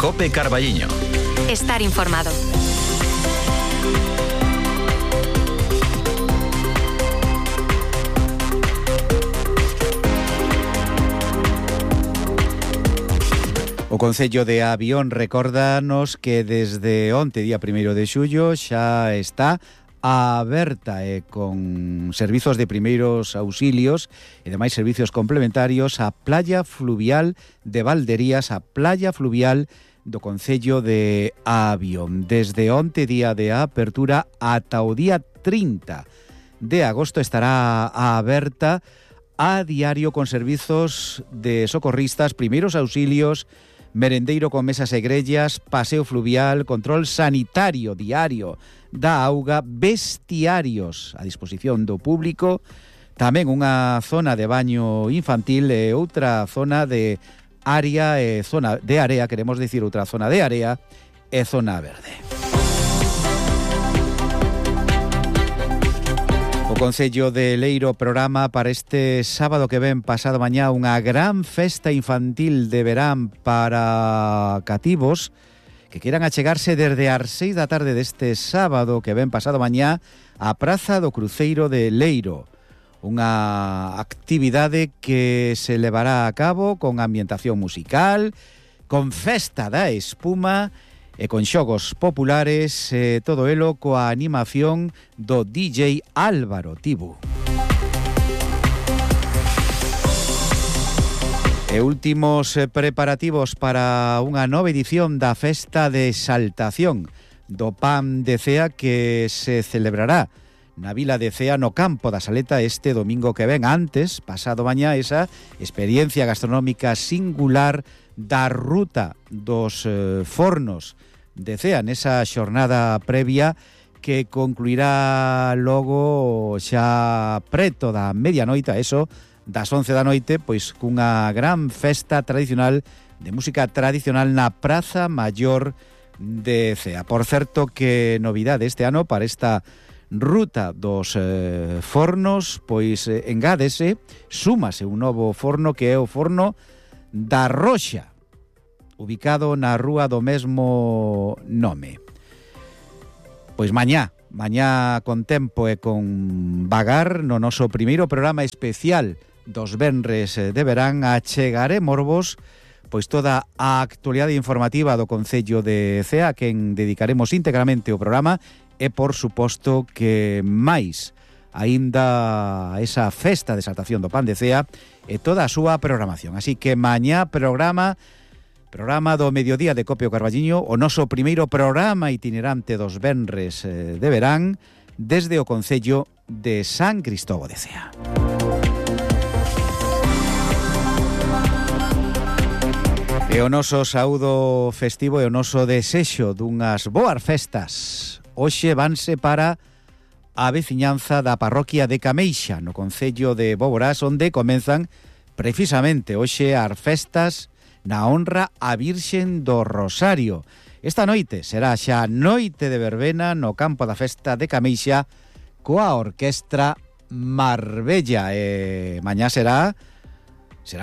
COPE Carballiño. Estar informado. O Concello de Avión recórdanos que desde onte, día 1 de xullo, xa está aberta con servizos de primeiros auxilios e demais servicios complementarios a playa fluvial de Valderías, a playa fluvial do Concello de Avión. Desde onte, día de apertura, ata o día 30 de agosto estará aberta a diario con servizos de socorristas, primeiros auxilios, merendeiro con mesas e grellas, paseo fluvial, control sanitario diario da auga, bestiarios a disposición do público, tamén unha zona de baño infantil e outra zona de área e zona de area, queremos decir outra zona de área e zona verde. O Concello de Leiro programa para este sábado que ven pasado mañá unha gran festa infantil de verán para cativos que quieran achegarse desde as 6 da tarde deste sábado que ven pasado mañá á Praza do Cruceiro de Leiro. Unha actividade que se levará a cabo con ambientación musical, con festa da espuma e con xogos populares, todo elo coa animación do DJ Álvaro Tibu. E últimos preparativos para unha nova edición da Festa de Exaltación do Pan de Cea que se celebrará na Vila de Cea, no Campo da Saleta, este domingo que ven. Antes, pasado mañá, esa experiencia gastronómica singular da ruta dos fornos de Cea, nesa xornada previa que concluirá logo xa preto da medianoite, eso das 11 da noite, pois cunha gran festa tradicional de música tradicional na Praza Maior de Cea. Por certo, que novidade este ano para esta ruta dos fornos, pois engádese, súmase un novo forno que é o forno da Roxa, ubicado na rúa do mesmo nome. Pois mañá con tempo e con vagar, no noso primeiro programa especial dos venres de verán, achegaremosvos pois toda a actualidade informativa do Concello de Cea, a quen dedicaremos íntegramente o programa, e por suposto que máis aínda esa festa de exaltación do Pan de Cea e toda a súa programación. Así que mañá programa do mediodía de Copio Carballiño, o noso primeiro programa itinerante dos venres de verán desde o Concello de San Cristóbal de Cea. E o noso saúdo festivo e o noso desexo dunhas boas festas hoxe vanse para a veciñanza da parroquia de Cameixa, no Concello de Boborás, onde comenzan precisamente hoxe as festas na honra a Virxen do Rosario. Esta noite será xa noite de verbena no campo da festa de Cameixa coa orquestra Marbella. E mañá será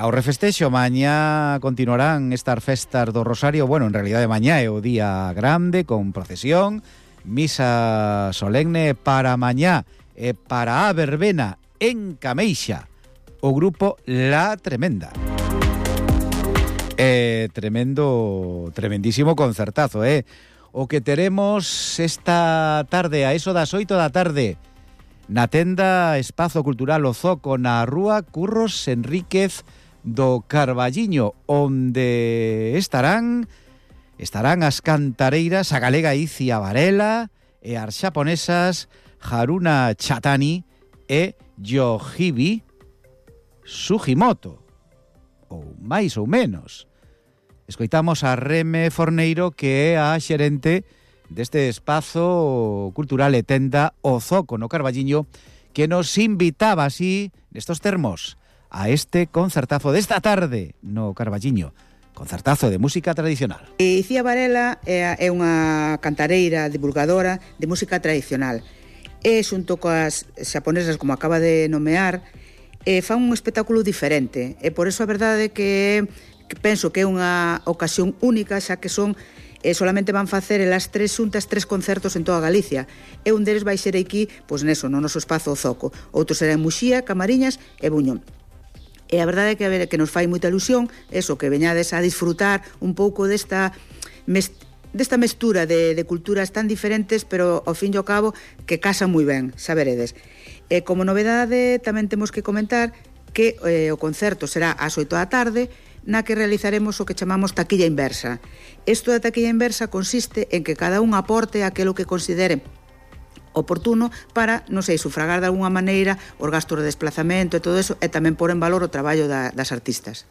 o refestexo, mañá continuarán estas festas do Rosario. Bueno, en realidade mañá é o día grande con procesión, misa solemne para mañá e para a verbena en Cameixa o grupo La Tremenda. Tremendísimo concertazo, o que teremos esta tarde a eso das 8 da tarde na tenda Espazo Cultural O Zoco, na rúa Curros Enríquez do Carballiño, onde estarán as cantareiras, a galega Icia Varela e as xaponesas Haruna Chatani e Yohibi Sugimoto, ou máis ou menos. Escoitamos a Reme Forneiro, que é a xerente deste espazo cultural e tenda O Zoco no Carballiño, que nos invitaba así, nestos termos, a este concertazo desta tarde no Carballiño. Concertazo de música tradicional. Icía Varela é unha cantareira divulgadora de música tradicional. E xunto coas xaponesas, como acaba de nomear, fan un espectáculo diferente. E por iso a verdade que que penso que é unha ocasión única, xa que son solamente van facer elas 3 xuntas 3 concertos en toda Galicia, e un deles vai ser aquí, pois neso, no noso espazo O Zoco, outro será en Muxía, Camariñas e Buño. E a verdade é que nos fai moita ilusión eso, que veñades a disfrutar un pouco desta mestura de culturas tan diferentes, pero ao fin e ao cabo que casan moi ben, xa veredes. E como novedade tamén temos que comentar que o concerto será ás 8 da tarde, na que realizaremos o que chamamos taquilla inversa. Isto da taquilla inversa consiste en que cada un aporte aquilo que considere oportuno para, non sei, sufragar de alguna maneira os gastos de desplazamento e todo eso, e tamén pôr en valor o traballo das artistas.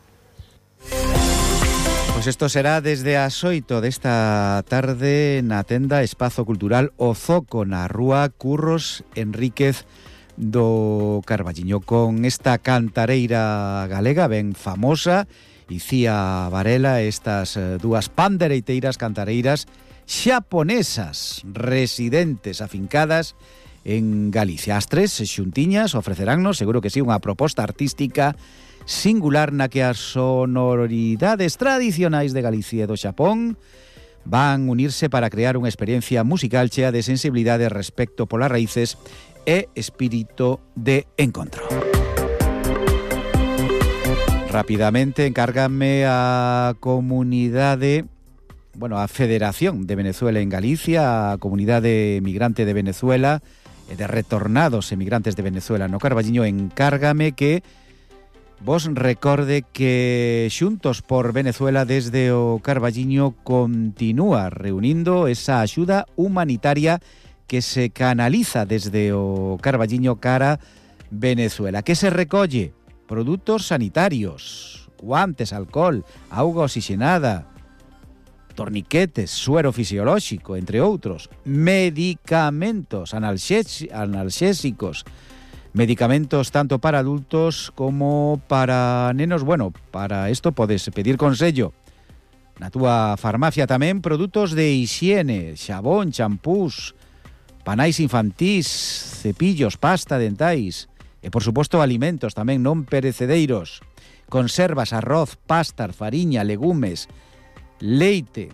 Pois isto será desde as 8 desta tarde na tenda Espazo Cultural O Zoco, na rúa Curros Enríquez do Carballiño, con esta cantareira galega ben famosa, Icía Varela, estas dúas pandereiteiras cantareiras xaponesas residentes afincadas en Galicia. As tres xuntiñas ofreceránnos, seguro que sí, unha proposta artística singular na que as sonoridades tradicionais de Galicia e do Xapón van unirse para crear unha experiencia musical chea de sensibilidade respecto polas raíces e espírito de encontro. Rapidamente encárgame a comunidade, a Federación de Venezuela en Galicia, a Comunidade Migrante de Venezuela e de retornados emigrantes de Venezuela no Carballiño, encárgame que vos recorde que Xuntos por Venezuela desde o Carballiño continúa reunindo esa axuda humanitaria que se canaliza desde o Carballiño cara Venezuela, que se recolle produtos sanitarios, guantes, alcohol, auga oxigenada, torniquetes, suero fisiolóxico, entre outros, medicamentos analxésicos, medicamentos tanto para adultos como para nenos. Para isto podes pedir consello na túa farmacia. Tamén produtos de hixiene, xabón, champús, panais infantís, cepillos, pasta dentais e, por suposto, alimentos tamén non perecedeiros, conservas, arroz, pastas, fariña, legumes, leite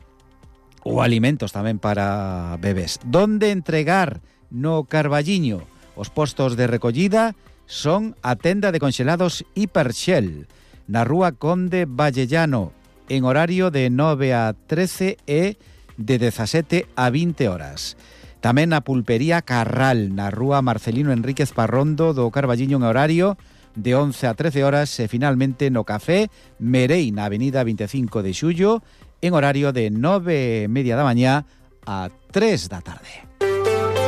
ou alimentos tamén para bebés. Donde entregar no Carballiño? Os postos de recollida son a tenda de conxelados Hiperxel, na rúa Conde Vallellano, en horario de 9 a 13 e de 17 a 20 horas. Tamén a pulpería Carral, na rúa Marcelino Enríquez Parrondo do Carballiño, en horario de 11 a 13 horas, e finalmente no Café Merei, na avenida 25 de Xullo, en horario de 9:30 da mañá a 3 da tarde.